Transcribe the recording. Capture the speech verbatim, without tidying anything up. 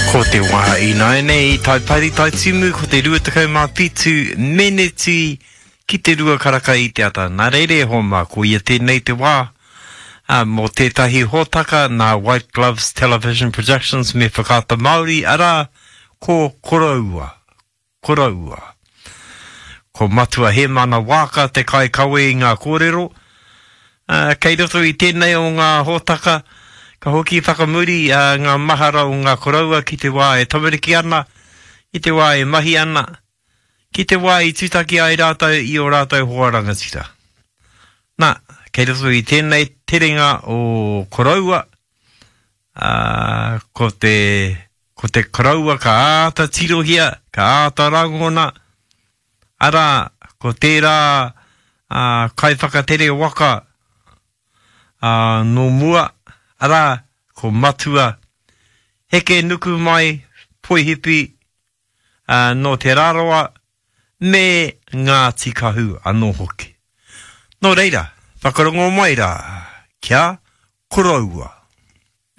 Ko te wā ināianei i Taipari Taitimu, ko te rua tekau mā whitu meneti ki te rua karaka i te ata. Nā reira e hoa mā, ko ia tēnei te wā ā, mō tētahi hōtaka nā White Gloves Television Productions me Whakaata Māori, arā, ko Koroua. Koroua. Ko Matua Hēmana Waaka te kaikawe i ngā kōrero. Ā, kei roto i tēnei o ngā hōtaka, ka hoki whakamuri ā, ngā mahara o ngā koroua ki te wā e tamariki ana, ki te wā e mahi ana, ki te wā i tūtaki ai rātou i ō rātou hoa rangatira. Nā, kei roto i tēnei terenga o Koroua, ā, ko te, ko te koroua ka āta tirohia, ka āta rangona, arā, ko tērā ā, kaiwhakatere waka ā, nō mua, arā, ko Matua Hekenukumai Poihipi, ā, nō Te Rarawa me Ngāti Kahu anō hoki. Nō reira, whakarongo mai rā, kia koroua.